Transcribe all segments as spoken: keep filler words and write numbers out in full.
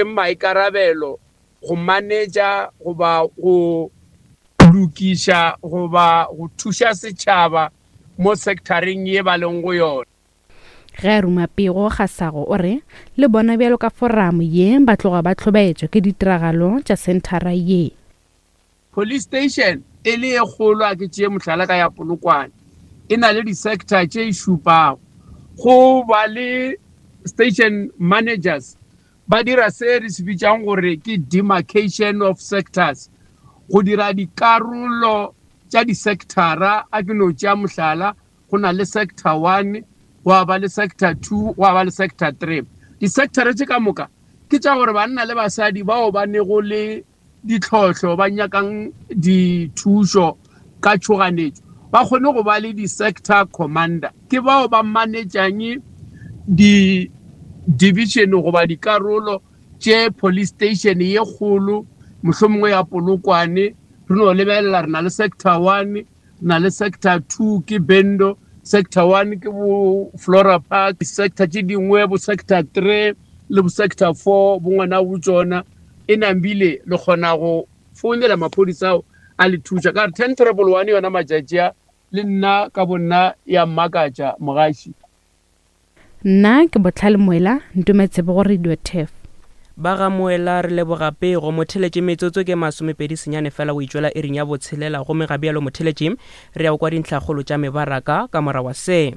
Maikarabelo go manetša goba go lokiša goba go thuša setšhaba mo sectoreng ye ba leng go yona. Ge a ruma pego, Kgasago o re le bona bjalo ka foramo ye ba tloga ba hlobaetšwa ke ditiragalo tša senthara ye. Police station e le e kgolo, a ke tšee mohlala ka ya Polokwane, e na le di-sector tše šupago. Go ba le station managers ba dira se re se bitsang gore ke demarcation of sectors, go dira dikarolo tša di-sectora. A ke no tšea mohlala, go na le sector one, gwa ba le sector two, gwa ba le sector three. Di-sectora tše ka moka ke tša gore banna le basadi bao ba nego le ditlhohlo, ba nyakang dithušo ka tšhoganetšo, ba kgone go ba le di-sector commander. Ke bao ba manetšang di-division goba dikarolo tše police station ye kgolo, mohlomongwe ya Polokwane. Re no lebelela, re na le sector one, re na le sector two ke Bendo, sector one ke bo Flora Park, sector tše dingwe bo sector three le bo sector four bo ngwana bo tšona. E nambile le kgona go founela maphodisa ao a le thuša ka re ten triple one. Yona matšatši a le nna ka bonna ya mmakatša mogaši. Nna ke Botlhale Moela, Ntometsebe go Radio Turf. Ba ga Moela, re leboga pego. Motheletše, metsotso ke masomepedi senyane fela o itšwela iring ya botshelela, gomme ga bjalo motheletše re ya go kwa dintlhakgolo tša mebaraka ka morago wa se.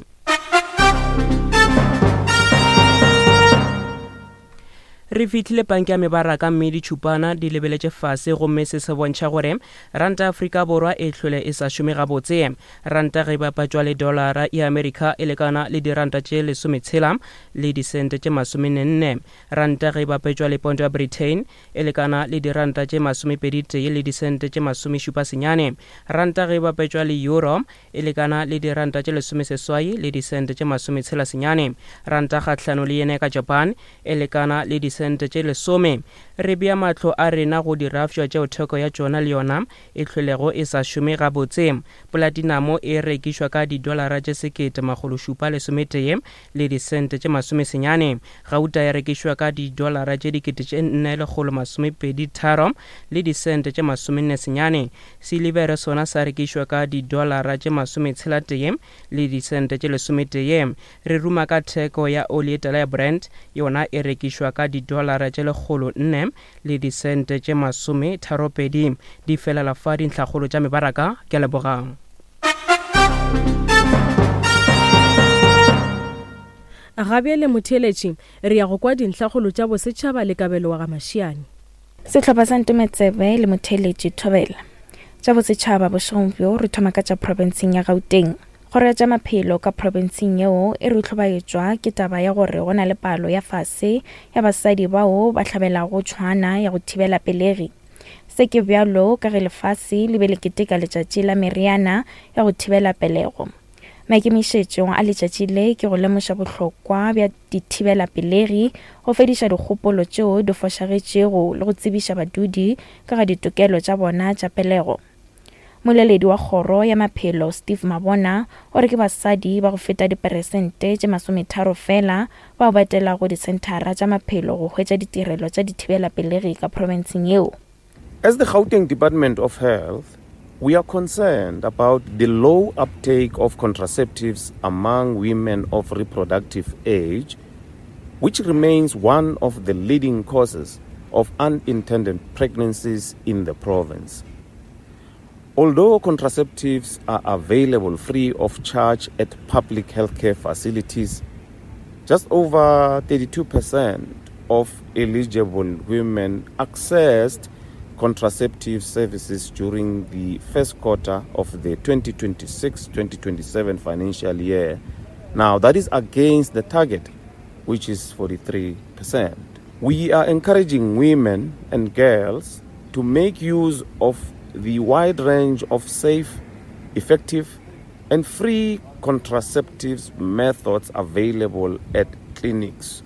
Re fihlile panke ya mebaraka mme ditšhupana di lebeletše fase, gomme se se bontšha gore ranta Afrika Borwa e hlwele e sa šome gabotse. Ranta ge e bapatšwa le dolara ya Amerika e lekana le diranta tše lesometshela le disente tše masomenne. Ranta ge e bapetšwa le ponto ya Britain e lekana le diranta tše masomepedi tee le disente tše masomešupa senyane. Ranta ge e bapetšwa le euro e lekana le diranta tše lesomeseswai le disente tše masometshela senyane. Ranta kgahlano le yene ka Japan e lekana le disente tše lesome. Re bea mahlo a rena go dirafšwa tšeo theko ya tšona le yona e hlwelego e sa šome gabotse. Polatinamo e rekišwa ka didolara tše sekete makgolo šupa lesometee le disente tše masomesenyane. Gauta ya rekišwa ka didolara tše dikete tše nne lekgolo masomepedi tharo le disente tše masomenne senyane. Silivere sona sa rekišwa ka didolara tše masometshela tee le disente tše lesometee. Re ruma ka theko ya oli e tala ya Brent, yona e rekišwa ka didolara tše lekgolo nne le disente tše masome tharopedi. Di felela fa dintlhakgolo tša mebaraka. Ke a lebogang. Ga bjale motheeletši re ya go kwa dintlhakgolo tša bosetšhaba le Kabelo wa ga Mašiane. Sehlopha sa Ntometsebe le motheeletši Thobela. Tša bosetšhaba bošegong bjo re thoma ka tša profenseng ya Gauteng. Kgoro ya tša maphelo ka profenseng yeo e re hlobaetšwa ke taba ya gore go na le palo ya fase ya basadi bao ba hlabelago tšhwana ya go thibela pelegi. Se ke bjalo ka ge lefase le be le keteka letšatši la meriana ya go thibela pelego. Maikemišetšo a letšatši le ke go lemoša bohlokwa bja dithibela pelegi, go fediša dikgopolo tšeo di fošagetšego le go tsebiša badudi ka ga ditokelo tša bona tša pelego. Moleledi wa kgoro ya maphelo Steve Mabona o re ke basadi ba go feta diperesente tše masometharo fela bao ba etelago disenthara tša maphelo go hwetša ditirelo tša dithibela pelegi ka profenseng yeo. As the Gauteng Department of Health, we are concerned about the low uptake of contraceptives among women of reproductive age, which remains one of the leading causes of unintended pregnancies in the province. Although contraceptives are available free of charge at public healthcare facilities, just over thirty-two percent of eligible women accessed contraceptive services during the first quarter of the twenty twenty-six twenty twenty-seven financial year. Now, that is against the target, which is forty-three percent. We are encouraging women and girls to make use of the wide range of safe, effective, and free contraceptives methods available at clinics.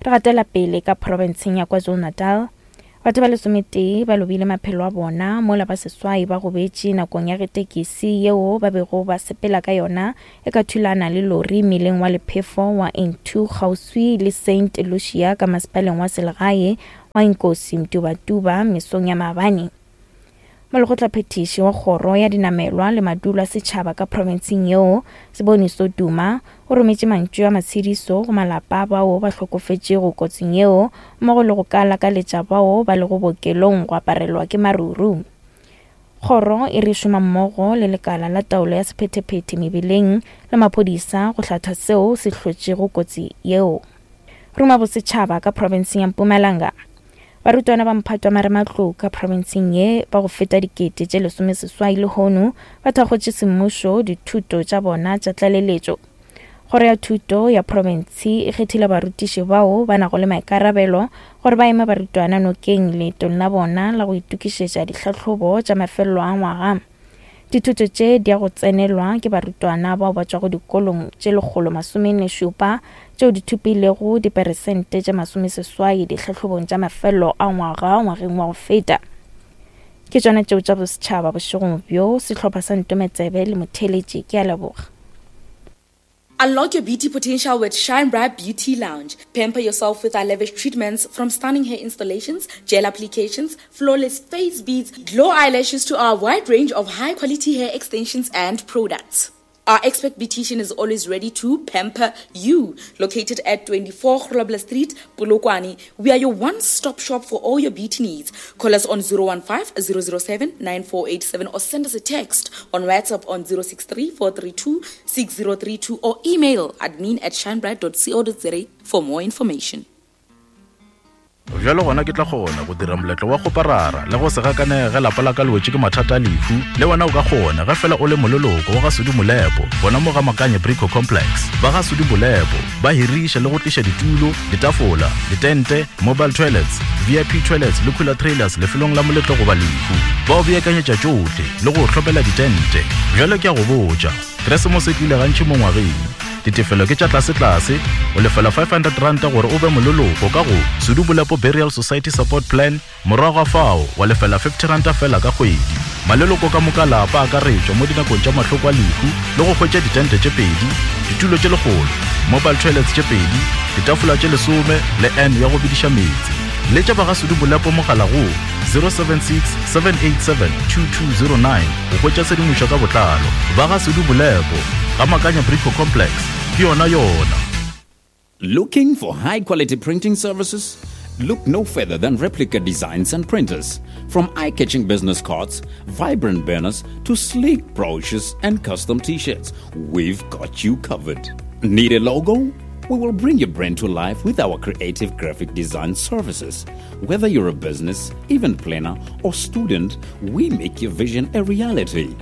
Re gatela pele ka profenseng ya KwaZulu-Natal. Batho ba lesometee ba lobile maphelo a bona mola ba seswai ba gobetše nakong ya ge tekesi yeo ba bego ba sepela ka yona e ka thulana le lori mmileng wa lephefo wa N two kgauswi le Saint Lucia ka masepaleng wa selegae wa Inkosi Mtubatuba mesong ya maabane. Molekgotlaphethiši wa kgoro ya dinamelwa le madulo a setšhaba ka profenseng yeo, Siboniso Duma, o rometše mantšu a matshediso go malapa bao ba hlokofetšego kotsing yeo mmogo le go ka lakaletša bao ba lego bookelong go aparelwa ke maruru. Kgoro e re šoma mmogo le lekala la taolo ya sephethephethe mebileng le maphodisa go hlatha seo se hlotšego kotsi yeo. Ruma bosetšhaba ka profenseng ya Mpumalanga. Barutwana ba mphato wa marematlou ka profenseng ye ba go feta dikete tše lesomeseswai lehono ba thakgotše semmušo dithuto tša bona tša tlaleletšo. Kgoro ya thuto ya profense e kgethile barutiši bao ba nago le maikarabelo gore ba eme barutwana nokeng leetong la bona la go itokišetša ditlhahlobo tša mafelelo a ngwaga. Dithuto tše di ya go tsenelwa ke barutwana bao ba tšwago dikolong tše lekgolo masomenne šupa tšeo di thopilego diperesente tše masomeseswai ditlhahlobong tša mafelelo a ngwaga ngwageng wa go feta. Ke tšona tšeo tša bosetšhaba bošegong bjo. Sehlopha sa Ntometsebe le Motheletši, ke a leboga. Unlock your beauty potential with Shine Bright Beauty Lounge. Pamper yourself with our lavish treatments, from stunning hair installations, gel applications, flawless face beads, glow eyelashes to our wide range of high-quality hair extensions and products. Our expert beautician is always ready to pamper you. Located at twenty-four Grobler Street, Polokwane, we are your one-stop shop for all your beauty needs. Call us on zero one five, zero zero seven, nine four eight seven or send us a text on WhatsApp on zero six three, four three two, six zero three two or email admin at shinebright dot co dot za for more information. Bjalo gona ke tla kgona go dira moletlo wa go parara le go se gakanege ge lapa la ka le wetše ke mathata a lehu. Le wena o ka kgona ge fela o le moleloko wa ga Sudi Molepo gona mo ga Makanye Brico Complex. Ba ga Sudi Molepo ba hiriša le go tliša ditulo, ditafola, ditente, mobile toilets, V I P toilets le cooler trailers lefelong la moletlo goba lehu. Ba o beakanyetša tšohle le go hlopela ditente. Bjalo ke a go botša, Keresemose e tlile gantši mo ngwageng. Ditefelo ke tša tlase-tlase, o lefela five hundred ranta gore o be moleloko ka go Sudi Molepo Burial Society Support Plan, morago ga fao wa lefela fifty ranta fela ka kgwedi. Maleloko ka moka lapa a akaretšwa mo dinakong tša mahloko a lehu le go hwetša ditente tše pedi, ditulo tše lekgolo, mobile toilets tše pedi, ditafola tše lesome le N ya go bediša meetse. Letša ba ga Sudi Molepo mogala go zero seven six, seven eight seven, two two zero nine go hwetša tshedimošo ka botlalo. Ba ga Sudi Molepo ga Makanya Brico Complex, ke yona yona. Looking for high quality printing services? Look no further than Replica Designs and Printers. From eye-catching business cards, vibrant banners, to sleek brochures and custom t-shirts, we've got you covered. Need a logo? We will bring your brand to life with our creative graphic design services. Whether you're a business, event planner, or student, we make your vision a reality.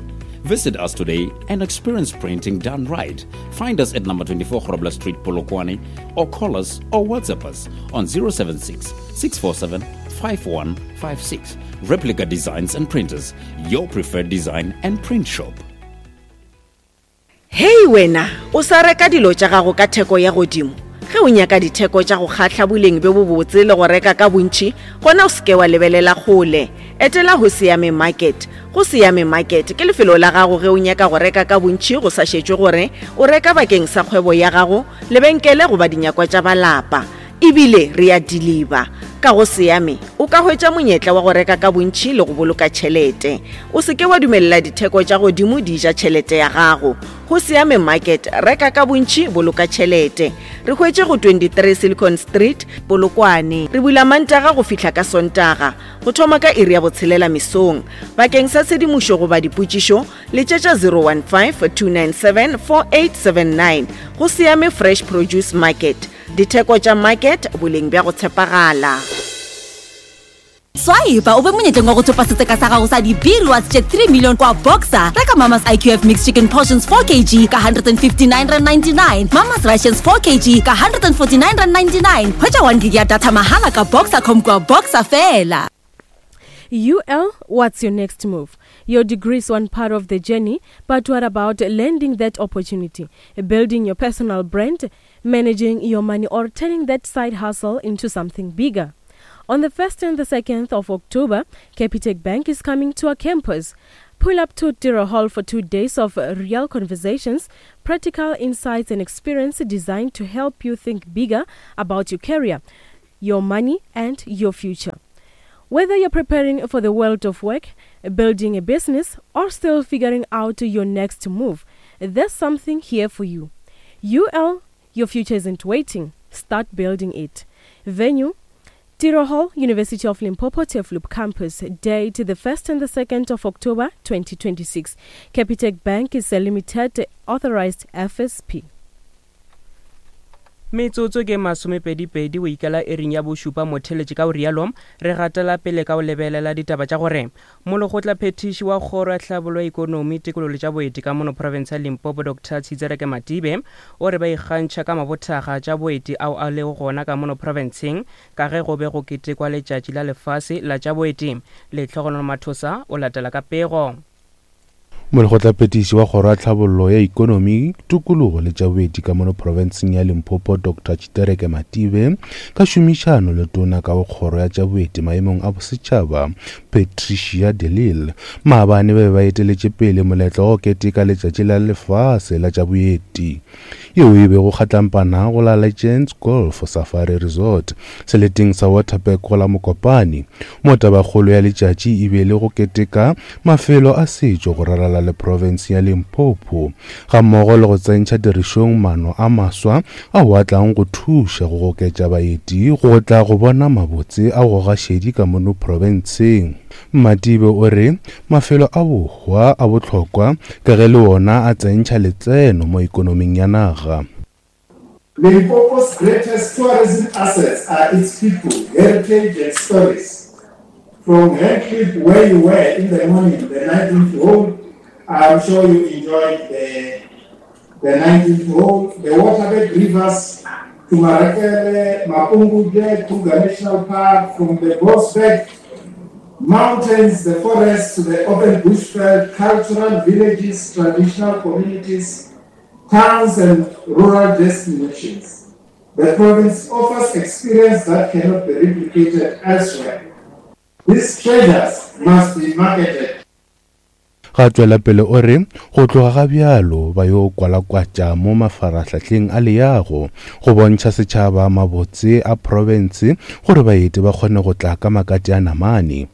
Visit us today and experience printing done right. Find us at number twenty-four Grobler Street, Polokwane, or call us or WhatsApp us on zero seven six, six four seven, five one five six. Replica Designs and Printers, your preferred design and print shop. Hey wena, o sa reka dilo tša gago ka theko ya godimo. Ge o nyaka ditheko tša go kgahla boleng bjo bobotse le go reka ka bontši, gona o seke wa lebelela kgole. Etela go Siame Market. Go Siame Market ke lefelo la gago ge o nyaka go reka ka bontši go sa šetšwe gore o reka bakeng sa kgwebo ya gago, lebenkele goba dinyakwa tša balapa. Ebile re a deliver. Ka go Siame o ka hwetša monyetla wa go reka ka bontši le go boloka tšhelete. O seke wa dumelela ditheko tša godimo di ja tšhelete ya gago. Go Siame Market, reka ka bontši, boloka tšhelete. Re hwetše go twenty-three Silicon Street, Polokwane. Re bula Mantaga go fihla ka Sontaga, go thoma ka iri ya botshelela mesong. Bakeng sa tshedimošo goba dipotšišo, letšetša zero one five, two nine seven, four eight seven nine. Go Siame Fresh Produce Market. Ditheko tša market, boleng bja go tshepagala. Swipe o be monyetleng wa go thopa setseka sa gago sa di-B-rewards tše three million kwa Boxer. Reka Mama's I Q F mixed chicken portions four kilograms ka one hundred fifty-nine rand ninety-nine, Mama's Rations four kilograms ka one hundred forty-nine rand ninety-nine. Hwetša one gig ya data mahala ka Boxer dot com kwa Boxer fela. U L, what's your next move? Your degree is one part of the journey, but what about landing that opportunity, building your personal brand, managing your money, or turning that side hustle into something bigger? On the first and the second of October, Capitec Bank is coming to our campus. Pull up to Tiro Hall for two days of real conversations, practical insights and experience designed to help you think bigger about your career, your money and your future. Whether you're preparing for the world of work, building a business, or still figuring out your next move, there's something here for you. U L, your future isn't waiting. Start building it. Venue, Tiro Hall, University of Limpopo, Turfloop Campus. Date, the first and the second of October, twenty twenty-six. Capitec Bank is a limited authorized F S P. Metsotso ke masomepedipedi o ikela ering ya bošupa motheletše ka o rialo re gatela pele ka o lebelela ditaba tša gore molekgotla phetiši wa kgoro ya tlhabollo ya ikonomi tikologo le tša boeti ka mono province ya Limpopo Doctor Tshitsereke Matibe o re ba ikgantšha ka mabothaga tša boeti ao a lego gona ka mono provinceng ka ge go be go ketekwa letšatši la lefase la tša boeti. Lehlogonolo Mathosa o latela ka pego. Molekgotlaphethiši wa kgoro ya tlhabollo ya ikonomi tikologo le tša boeti ka mono profenseng ya Limpopo Doctor Tshitereke Matibe ka šomišano le tona ka go kgoro ya tša boeti maemong a bosetšhaba Patricia de Lille maabane ba be ba eteletše pele moletlo wa go keteka letšatši la lefase la tša boeti yeo e bego kgatlampana go la Legends Golf Safari Resort seleteng sa Waterberg go la Mokopane. Mo tabakgolo ya letšatši e be le go keteka mafelo a setšo go ralala le province ya Limpopo gammogo le go tsentšha tirišong maano a maswa ao a tlang go thuša go goketša baeti go tla go bona mabotse a go gašedi ka mono profenseng. Matibe o re mafelo a bohwa a bohlokwa ka ge le wona a tsentšha letseno mo ikonoming ya naga. Limpopo's greatest tourism assets are its people, heritage and stories. From Hangklip, where you were in the morning, the nineteenth hole, I'm sure you enjoyed the, the nineteenth hole, the Waterberg rivers to Marakele, Mapungubwe, Kruger National Park, from the Bosberg mountains, the forests, to the open bushveld, cultural villages, traditional communities, towns and rural destinations. The province offers experience that cannot be replicated elsewhere. These treasures must be marketed. Ga tswela pele o re go tloga ga bjalo ba yo kwalakwatša mo mafarahlahleng a leago go bontšha setšhaba mabotse a province gore baeti ba kgone go tla ka makati a namane.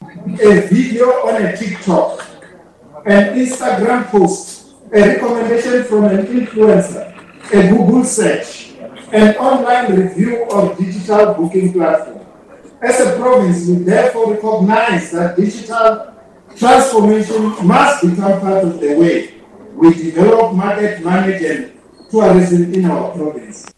A video on a TikTok, an Instagram post, a recommendation from an influencer, a Google search, an online review of digital booking platform. As a province, we therefore recognize that digital transformation must become part of the way we develop, market, manage, and tourism in our province.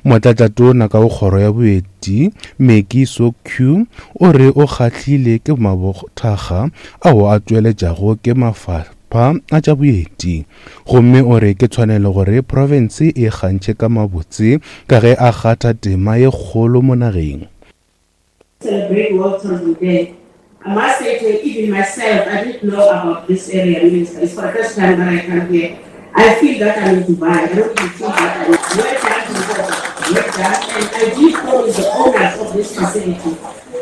Motlatšatona ka go kgoro ya boeti Meki Sokhu o re o kgahlile ke mabothaga ao a tšweletšago ke mafapha a tša boeti gomme o re ke tshwanelo gore province e kgantšhe ka mabotse ka ge a kgatha tema ye kgolo mo nageng. Celebrate World Tourism Day. I must say to even myself, I didn't know about this area, Minister. It's for the first time that I come here. I feel that I'm in Dubai. I don't even feel that I'm well done, well done. And I did promise the owners of this facility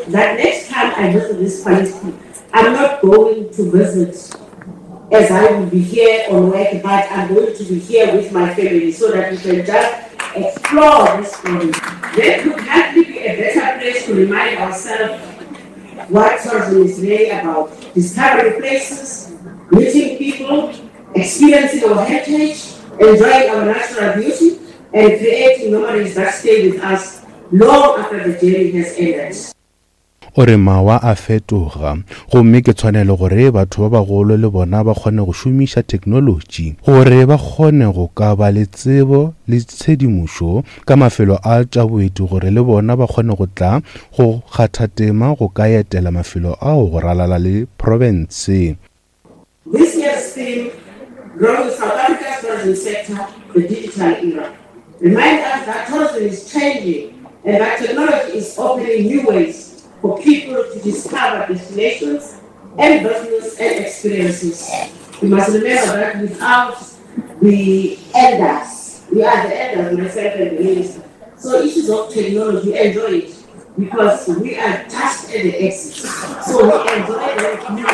that next time I visit this facility, I'm not going to visit as I will be here on work, but I'm going to be here with my family so that we can just explore this province. There could hardly be a better place to remind ourselves what tourism is really about. Discovering places, meeting people, experiencing our heritage, enjoying our natural beauty, and creating memories that stay with us long after the journey has ended. O re mawa a fetoga gomme ke tshwanelo gore batho ba bagolo le bona ba kgone go šomiša technology gore ba kgone go ka ba le tsebo le tshedimošo ka mafelo a tša boeti gore le bona ba kgone go tla go kgatha tema go ka etela mafelo ao go ralala le province. This year's theme, Growing South Africa's tourism sector, the digital era, remind us that tourism is changing and that technology is opening new ways for people to discover destinations and business and experiences. We must remember that without the elders, we are the elders, myself and the minister. So issues of technology, we enjoy it. Because we are just at the exit. So we enjoy that new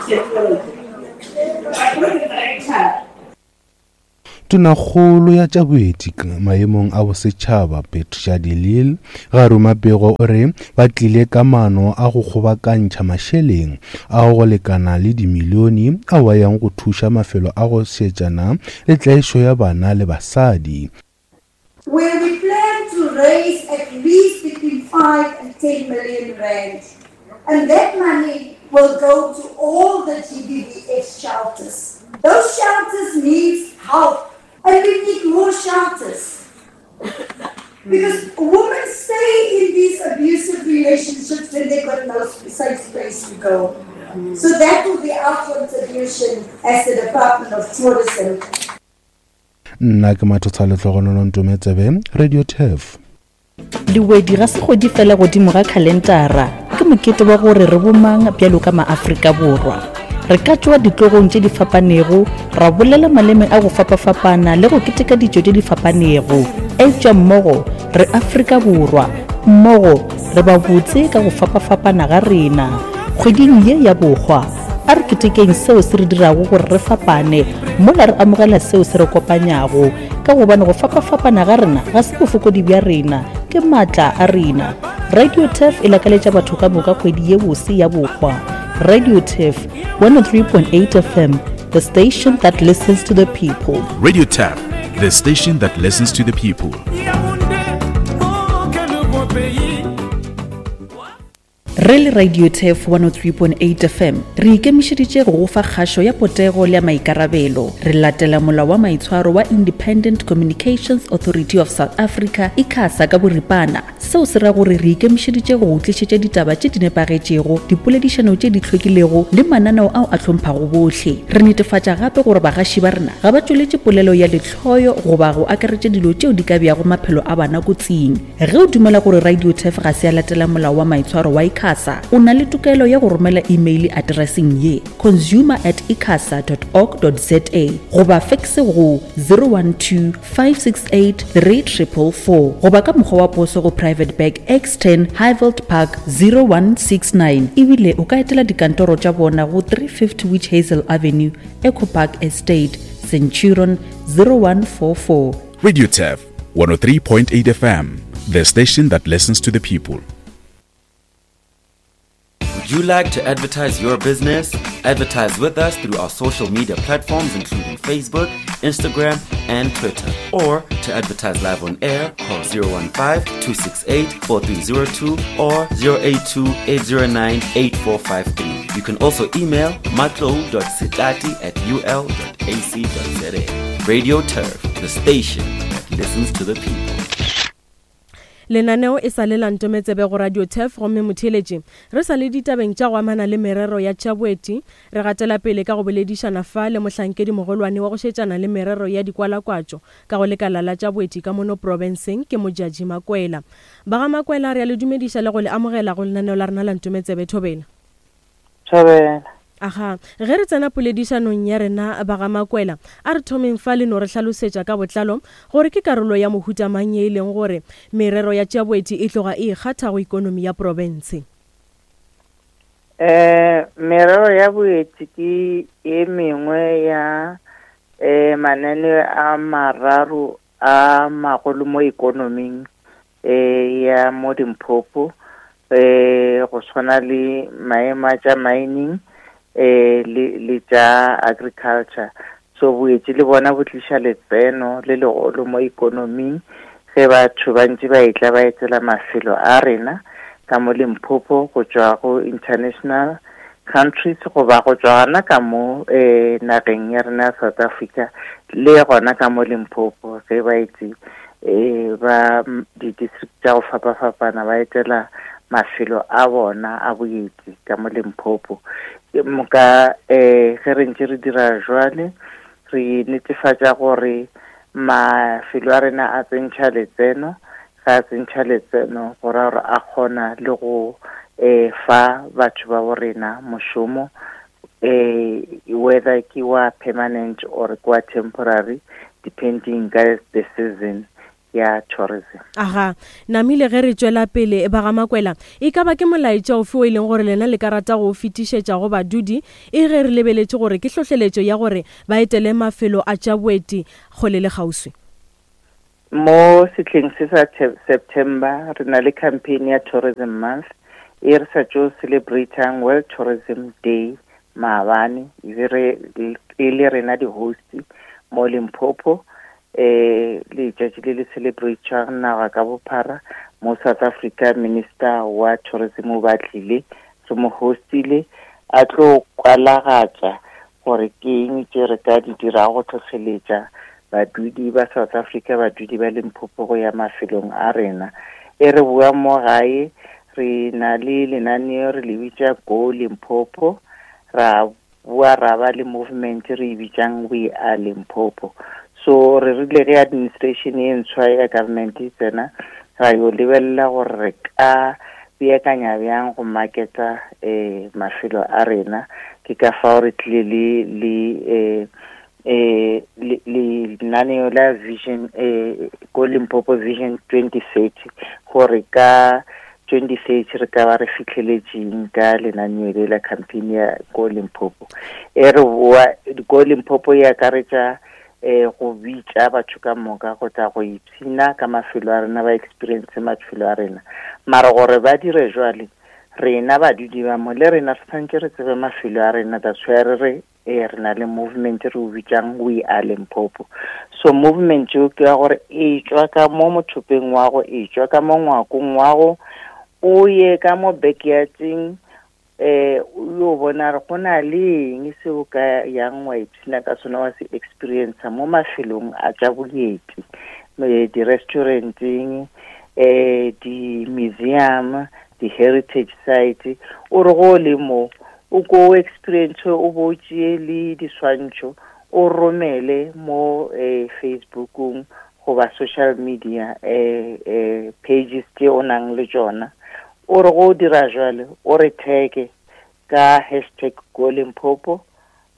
technology. But with the director, Tonakgolo ya tša boeti maemong a bosetšhaba Patricia de Lille ga ruma pego o re ba tlile ka maano a go kgobokantšha mašeleng a go lekana le dimilione ao a yang go thuša mafelo a go šetšana le tlaišo ya bana le basadi. Where we plan to raise at least between five and ten million rand. And that money will go to all the G B V F shelters. Those shelters need help. And we need more shelters. Because women stay in these abusive relationships when they've got no safe space to go. So that will be our contribution as the Department of Tourism. Nna ke Mathotsa Lehlogonolo Ntometsebe, Radio Turf. Diwedi ga se kgwedi fela godimo ga khalentara, ke mokete wa gore re bomang bjalo ka maAfrika Borwa. Re ka tšwa ditlogong tše di fapanego, ra bolela maleme a go fapafapana le go keteka ditšo tše di fapanego. Eupša mmogo re Afrika Borwa, mmogo re ba botse ka go fapafapana ga rena. Kgweding ye ya bohwa, a re ketekeng seo se re dirago gore re fapane, mola re amogela seo se re kopanyago, ka gobane go fapafapana ga rena ga se bofokodi bja rena, ke maatla a rena. Radio Turf e lakaletša batho ka moka kgwedi ye bose ya bohwa. Radio Turf one oh three point eight F M, the station that listens to the people. Radio Turf, the station that listens to the people. Re le Radio Turf one oh three point eight F M re ikemišeditše go go fa kgašo ya potego le ya maikarabelo. Re latela molao wa maitshwaro wa Independent Communications Authority of South Africa, ICASA ka boripana. Seo se ra gore re ikemišeditše go go tlišetša ditaba tše di nepagetšego, dipoledišano tše di hlwekilego le mananeo ao a hlomphago bohle. Re netefatša gape gore bagaši ba rena ga ba tšweletše polelo ya lehloyo goba go akaretša dilo tšeo di ka beago maphelo a bana kotsing. Ge o dumela gore Radio Turf ga se ya latela molao wa maitshwaro wa ICASA, o na le tokelo ya go romela email addresseng ye consumer at icasa dot org dot za goba fax go zero one two five six eight three triple four goba ka mokgwa wa poso go Private Bag X ten Highveld Park zero one six nine. Ebile o ka etela dikantoro tša bona go three fifty Witch Hazel Avenue, Eco Park Estate, Centurion zero one four four. Radio Turf one oh three point eight F M, the station that listens to the people. Would you like to advertise your business? Advertise with us through our social media platforms including Facebook, Instagram, and Twitter. Or to advertise live on air, call zero one five, two six eight, four three zero two or zero eight two, eight zero nine, eight four five three. You can also email matlo dot sitati at u l dot a c dot z a. Radio Turf, the station that listens to the people. Lenaneo e sa le la Ntometsebe go Radio Turf, gomme motheeletši re sa le ditabeng tša go amana le merero ya tša boeti. Re gatela pele ka go boledišana fa le mohlankedi mogolwane wa go šetšana le merero ya dikwalakwatšo ka go lekala la tša boeti ka mono profenseng, ke Modjadji Makwela. Ba ga Makwela, re a le dumediša le go le amogela go lenaneo la rena la Ntometsebe. Thobela. Thobela. Aha, ge re tsena poledišanong ya rena ba ga Makwela, a re thomeng fa le no re hlalosetša ka botlalo gore ke karolo ya mohuta mang ye e leng gore merero ya tša boeti e tloga e ikgatha go ikonomi ya province. Eh, merero ya boeti ke e mengwe ya eh mananeo a mararo a magolo mo ikonoming eh ya mo Limpopo, eh go tshwana le maemo a tša mining eh le le tša agriculture. So boetsi le bona bo tliša letseno le legolo mo ikonoming ge batho ba ntse ba etla ba etela mafelo a rena ka mo Limpopo go tšwa go international countries goba go tšwa gona ka mo eh nageng ya rena ya South Africa le gona ka mo Limpopo ge ba etse eh ba di-district tša go fapafapana ba etela mafelo a bona a boeti ka mo Limpopo. Moka eh ge re ntse re dira jwale re netefatša gore mafelo a rena a tsentšha letseno, ga a tsentšha letseno go ra gore a kgona le go eh fa batho ba bo rena mošomo, eh whether ke wa permanent or ke wa temporary depending ka the season. ya tourism. Aga, namile ge re tšwela pele ba ga Makwela, e ka ba ke molaetša ofe o e leng gore lena le ka rata go fetišetša go badudi e ge re lebeletše gore ke hlohleletšo ya gore ba etele mafelo a tša boeti kgole le kgauswi? Mo setlheng se sa September re na le campaign ya Tourism Month e re sa tšo celebrateang World Tourism Day maabane, e re e le rena di-host mo Limpopo. Eh letšatši le le celebrate-ang naga ka bophara mo South Africa, Minister wa Tourism o ba tlile, re mo hostile a tlo kwalagatša gore ke eng tše re ka di dirago go tlhohleletša badudi ba South Africa, badudi ba Limpopo go ya mafelong a rena. E re bua mo gae, re na le lenaneo re le bitša Go Limpopo, ra bua ra ba le movement re e bitsang We Are Limpopo. So re rile ge administration e ntshwa ya government e tsena, ra yo lebelela gore re ka beakanya bjang go marketa eh mafelo a rena. Ke ka fao re tlile le le eh eh le lenaneo la vision eh Go Limpopo Vision twenty thirty, gore ka twenty thirty re ka ba re fitlheletseng ka lenaneo le la campaign ya Go Limpopo. E re bua Go Limpopo e akaretša eh go bitša batho ka moka go tla go ipshina ka mafelo a rena, ba experience mafelo a rena. Mara gore ba dire jwale, rena badudi ba mo le rena re tshwanetse re tsebe mafelo a rena. That's why re re eh re na le movement re o bitsang We Are Limpopo. So movement eo ke ya gore e tšwa ka mo mothopeng wa go, e tšwa ka mo ngwakong wa go, o ye ka mo backyarding, eh o yo bona re go na le eng seo ka yang wa ipshina ka sona, wa se experience mo mafelong a tša boeti, di-restauranteng, eh di-museum, di-heritage site. O re go le mo o ko experience, o bo tšee le diswantšho o romele mo eh Facebookong goba social media eh eh pages tše o nang le tšona. O re go dira jwale, o re tag ka hashtag Go Limpopo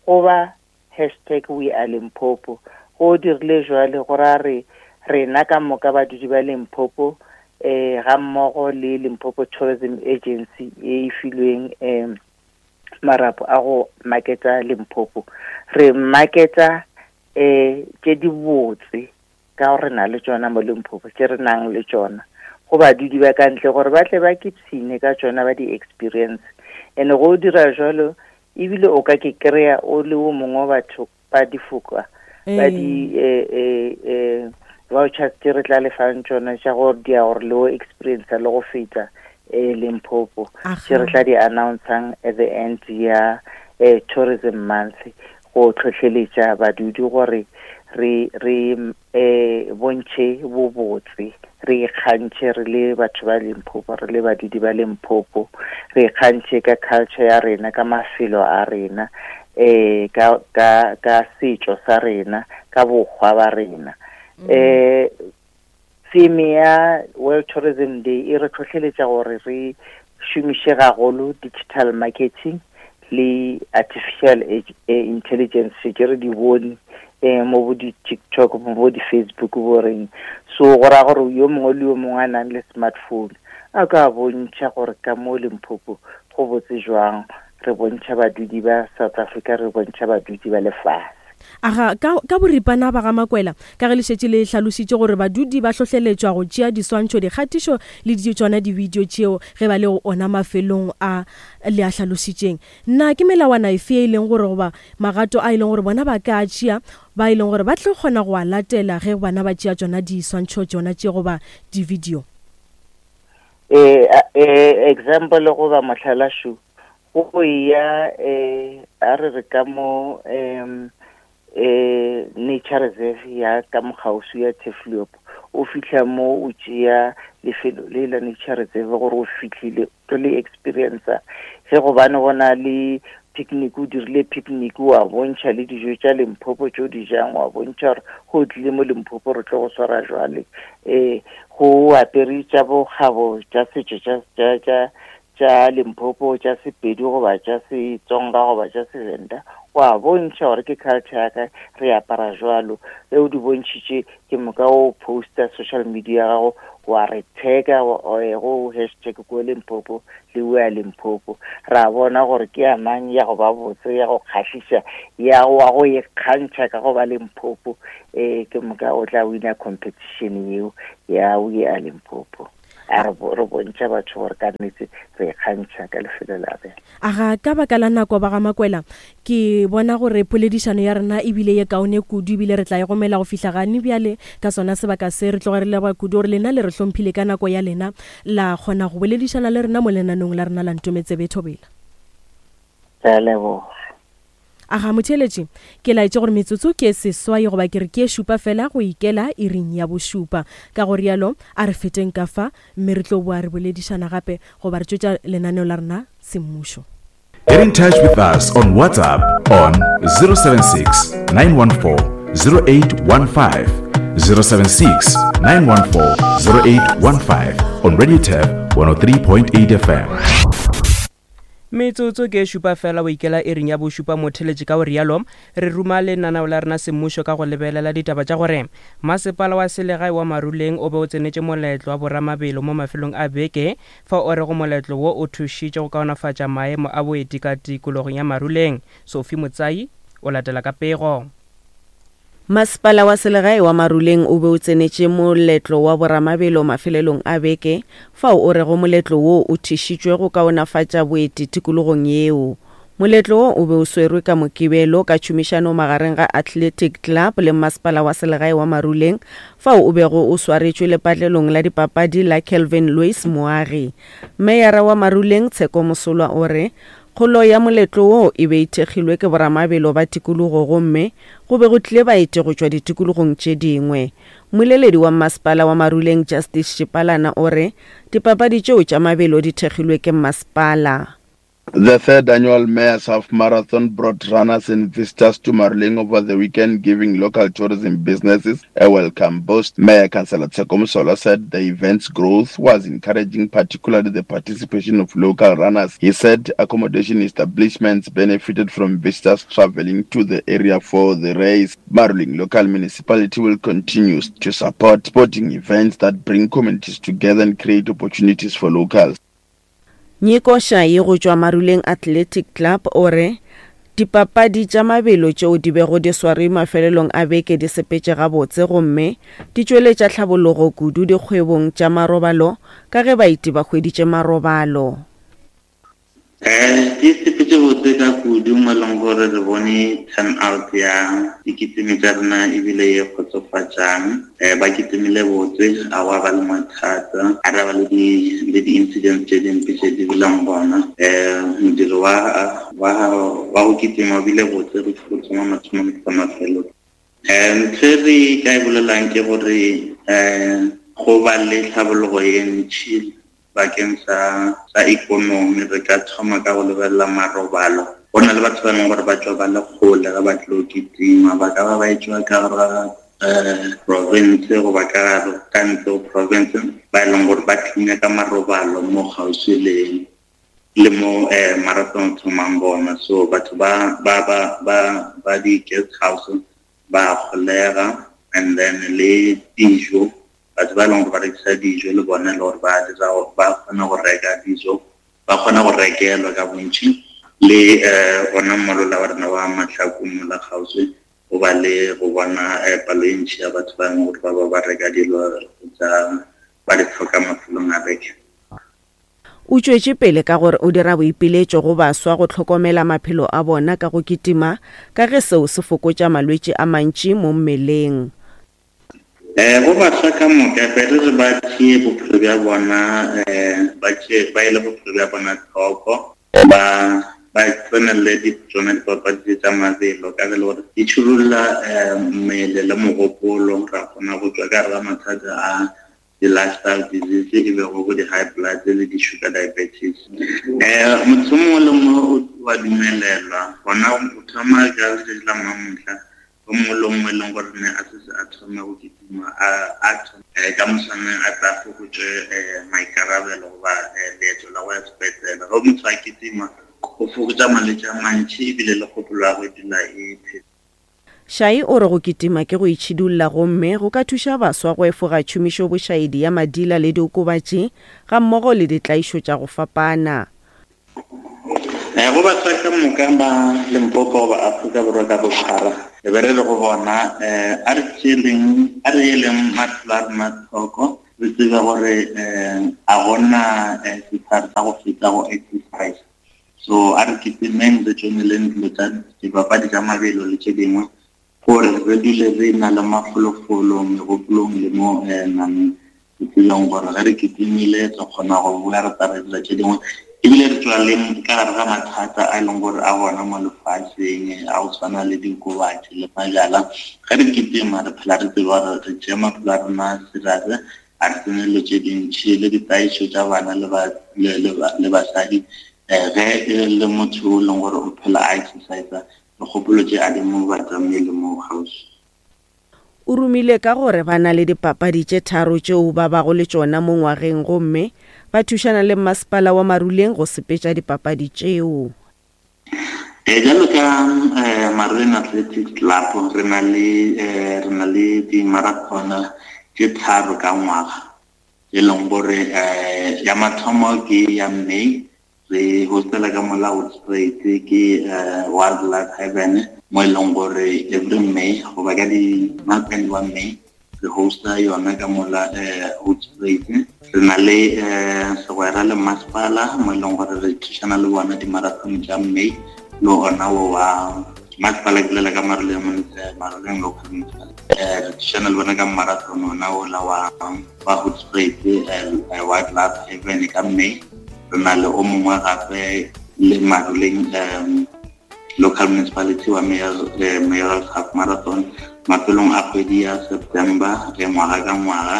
goba hashtag We Are Limpopo. Go dirile jwale go ra re rena ka moka badudi ba Limpopo eh ga mmogo le Limpopo Tourism Agency e filweng eh marapo a go marketa Limpopo, re marketa eh tše di botse ka gore re na le tšona mo Limpopo, tše re nang le tšona go badudi ba ka ntle gore ba tle ba kipsine ka tšona, ba di experience. And go dira jwalo ebile o ka ke kry-a o le o mongwe wa batho ba difoka ba di eh eh eh vouchers tše re tla lefang tšona tša gore di ya gore le o experience le go feta eh Limpopo, tše re tla di announcang at the end ya eh Tourism Month, go tlhohleletša badudi gore re re eh bontšhe bobotse, re ikgantšhe re le batho ba Limpopo, re le badudi ba Limpopo, re ikgantšhe ka culture ya rena, ka mafelo a rena, eh ka ka ka setšo sa rena, ka bokgwa ba rena. Eh theme ya World Tourism Day e re tlhohleletša gore re šomiše gagolo digital marketing le artificial intelligence tše re di bone eh mo bo di-TikTok, mo bo di-Facebook bo reng. So go ra gore yo mongwe le yo mongwe a nang le smartphone a ka bontšha gore ka mo Limpopo go botse jwang, re bontšha badudi ba South Africa, re bontšha badudi ba lefase. Aga, ka, ka boripana ba ga Makwela, ka ge le šetše le hlalošitše gore badudi ba hlohleletšwa go tšea diswantšho, dikgatišo le tšona di-video tšeo ge ba le go ona mafelong a le a hlalošitšeng. Na ke melawana efe e leng gore goba magato a e leng gore bona ba ka tšea ba e leng gore ba tlo kgona go a latela ge bana ba tšea tšona diswantšho tšona tše goba di-video? Eh, eh, example goba mohlala šo, go ya eh a re re ka mo em eh nature reserve ya ka mokgauswi ya Turfloop, o fihla mo o tšea lefelo le la nature reserve gore o fihlile o le experience ge gobane go na le picnic, o dirile picnic wa bontšha le dijo tša Limpopo tšeo di jang, wa bontšha gore go tlile mo Limpopo re tlo go swara jwale, eh go apere tša bokgabo tša setšo tša tša tša Limpopo, tša Sepedi goba tša Setsonga goba tša Sevenda, Wa bontšha gore ke culture ya ka, re apara jwalo. Ge o di bontšhitše, ke moka o posta social media ya gago, wa re tag-a go hashtag ko Limpopo le we a Limpopo. Ra bona gore ke ya mang ya go ba botse, ya go kgahliša, ya wa go ikgantšha ka go ba Limpopo. Eh, ke moka o tla wina competition yeo ya We Are Limpopo. A re re bontšha batho gore ka nnete re ikgantšha ka lefelo la rena. Aga ka baka la nako ba ga Makwela, ke bona gore poledišano ya rena ebile ye kaone kudu, ebile re tla e gomela go fihla gane bjale ka sona sebaka se. Re tloga re leboga kudu gore lena le re hlomphile ka nako ya lena, la kgona go boledišana le rena mo lenanong la rena la Ntometsebe Thobela. Re a leboga. Aga motheeletši, ke laetše gore metsotso ke seswai goba ke re ke šupa fela go ikela iring ya bošupa. Ka go rialo a re feteng ka fa, mme re tlo boa re boledišana gape goba re tšwetša lenaneo la rena semmušo. Get in touch with us on WhatsApp on zero seven six, nine one four, zero eight one five, zero seven six, nine one four, zero eight one five on Radio Turf one oh three point eight F M. Metsotso ke šupa fela o ikela iring ya bošupa motheletši. Ka o rialo re ruma lenaneo la rena semmušo ka go lebelela ditaba tša gore masepala wa selegae wa Maruleng o be o tsenetše moletlo wa boramabelo mo mafelong a beke, fa o rego moletlo wo o thušitše go kaonafatša maemo a boeti ka tikologong ya Maruleng. Sophie Motsai o latela ka pego. Masepala wa selegae wa Maruleng o be o tsenetše moletlo wa boramabelo mafelelong a beke, fao o rego moletlo wo o thušitšwe go kaonafatša boeti tikologong yeo. Moletlo wo o be o swerwe ka Mokibelo ka tšhomišano magareng ga Athletic Club le masepala wa selegae wa Maruleng, fao o bego o swaretšwe lepatlelong la dipapadi la Kelvin Louis Moagi. Meyara wa Maruleng Tsheko Mosolwa o re kgolo ya moletlo wo e be e thekgilwe ke boramabelo ba tikologo gomme go be go tlile baeti go tšwa ditikologong tše dingwe. Mmoleledi wa masepala wa Maruleng Justice Shipalana o re dipapadi tšeo tša mabelo di thekgilwe ke masepala. The third annual Mayor's Half Marathon brought runners and visitors to Maruleng over the weekend, giving local tourism businesses a welcome boost. Mayor Councillor Tsheko Mosolwa said the event's growth was encouraging, particularly the participation of local runners. He said accommodation establishments benefited from visitors traveling to the area for the race. Maruleng local municipality will continue to support sporting events that bring communities together and create opportunities for locals. Nyiko Shai go tšwa Maruleng Athletic Club o re dipapadi tša mabelo tšeo di bego di swarwe mafelelong a beke di sepetše gabotse gomme di tšweletša tlhabologo kudu dikgwebong tša marobalo ka ge baeti ba hweditše marobalo. Eh, di sepetše botse ka kudu mo e leng gore re bone turn out ya dikitimi tša rena ebile ye kgotsofatšang. Eh, ba kitimile botse, a wa ba le mathata, a ra ba le di le di-incidents tše dimpe tše di bileng gona. Eh, modiro wa wa wa go kitima o bile botse go thoma mathomo go mafelong. Eh, ntho e re ka e bolelang ke gore eh go ba le tlhabologo ye ntšhi bakeng sa sa ikonomi. Re ka thoma ka go lebelela marobalo. Go na le batho ba leng gore ba tšwa ba le kgole ga ba tlo kitima, ba ka ba ba etšwa ka gare ga eh province goba ka gare ka ntle ho province, ba e leng gore ba tlinya ka marobalo mo kgauswi le le mo eh marathon thomang gona. So batho ba ba ba ba ba di guest house ba kgolega, and then le dijo, batho ba leng gore ba rekisa dijo le bona le gore ba dira ba kgona go reka dijo, ba kgona go rekelwa ka bontši. Le eh ona molola wa rena wa Mahlaku mola kgauswi go ba le go bona palo e ntši ya batho ba leng gore ba ba ba reka dilo tsa ba di tlhoka mafelong a beke. O tšwetše pele ka gore o dira boipiletšo go baswa go hlokomela maphelo a bona ka go kitima ka ge seo se fokotša malwetši a mantši mo mmeleng. Eh go baswa ka moka pele re ba tšee bophelo bja bona, eh ba tšee ba ile bophelo bja bona tlhoko, ba ba tsenelele di tsona dipapadi tša mabelo ka ge le gore di tšhirolla mmele le mogopolo. Ra kgona go tšwa ka gare ga mathata a di-lifestyle disease e bego bo di-high blood le di-sugar diabetes. Eh motho mongwe le mongwe wa dumelelwa gona o thoma ka letšatši la mamohla, o mongwe le mongwe e leng gore ne a setse a thome go kitima a thome ka moswane a tla fokotše maikarabelo goba leeto la go ya sepetlele. Ge motho a kitima Go fokotša malwetši a mantši ebile le kgopolo ya go dula e phetse. Shai o re go kitima ke go itšhidulla gomme go ka thuša baswa go efoga tšhomišo bošaedi ya madila le diokobatši gammogo le ditlaišo tša go fapana. Eh, go baswa ka moka ba Limpopo goba Afrika Borwa ka bophara, re be re re go bona um a re tšeeleng a re eleng maphelo a rena tlhoko, re tsebe gore um a gona setlhare sa go feta go exercise. So a re kitimeng, re tšoneleng dilo tša dipapadi tša mabelo le tše dingwe gore re dule re na le mafolofolo megopolong le mo nameng, re tsebeng gore ge re kitimile re kgona go boa re tla re dira tše dingwe, ebile re tswa le ka gare ga mathata a e leng gore a gona mo lefatsheng a go tshwana le diokobatši le majala. Ge re kitima re phela re tseba gore re tšea maphelo a rena serious, a re tsene dilo tše dintšhi le ditaišo tša bana le basadi. Ge e le motho o leng gore o phela a exercise, dikgopolo tše a di mo batamele mo kgauswi. O romile ka gore ba na le dipapadi tše tharo tšeo ba bago le tšona mo ngwageng gomme ba thušana le masepala wa Maruleng go sepetša dipapadi tšeo. Eh jalo ka Maruleng Athletics Club re na le re na le di-marathon tše tharo ka ngwaga, e leng gore ya mathomo ke ya May, re hostela ka mola Hoedspruit ke Wildlife Haven, mo e leng gore every May goba ka di wa May re hosta yona ka mola Hoedspruit. Re na le segwera le masepala mo e leng gore re thušana le bona di-marathon tša May le ona wo wa masepala, ke bolela ka Maruleng Maruleng local municipality. Re thušana le bona ka marathon ona ola wa wa Hoedspruit Wildlife Haven ka May. Re na le o mongwe gape le Maruleng local municipality wa mayoral half marathon mafelong a kgwedi ya September ngwaga ka ngwaga.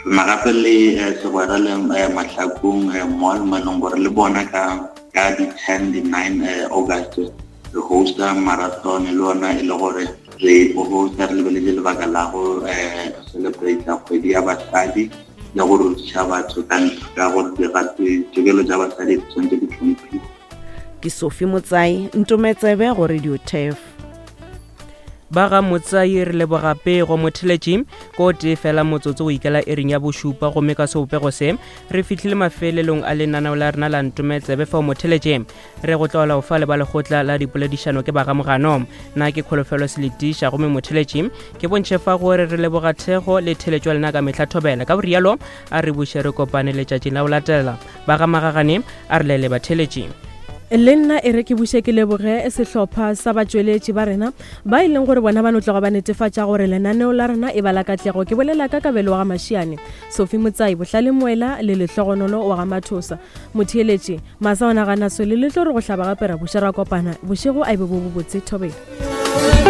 Re na gape le segwera le Mahlakong mall mo e leng gore le bona ka ka di-ten di-nine August re hosta marathon le ona e le gore re hosta re lebeletse lebaka la go celebrate kgwedi ya basadi le go rutiša batho ka ka gore ditokelo tša basadi di tshwanetse di hlomphiwe. Ke Sophie Motsai, Ntometsebe go Radio Turf. Ba ga Motsai re leboga pego motheletši ko tee fela motsotso o ikela ering ya bošupa, gomme ka sebopego se re fihlile mafelelong a lenaneo la rena la Ntometsebe. Fao motheletši re go tlola o fa le ba lekgotla la dipoledišano ke ba ga Mogano. Nna ke Kholofelo Seletiša, gomme motheletši ke bontšhe fa gore re leboga thekgo le theletšo ya lena ka mehla thobela. Ka borialo a re buše re kopane letšatšing la go latela. Ba ga Magagane a re lele batheletši. Le nna e re ke buše ke leboge sehlopha sa batšweletši ba rena ba e leng gore bona ba no tloga ba netefatša gore lenaneo la rena e ba la katlego. Ke bolela ka Kabelo wa ga Mašiane, Sophie Motsai, Bohlale Moela le Lehlogonolo wa ga Mathosa. Motheeletši masa ona gana swele le tlo re go hlaba gape ra buša ra kopana bošego a e be bo bobotse thobela.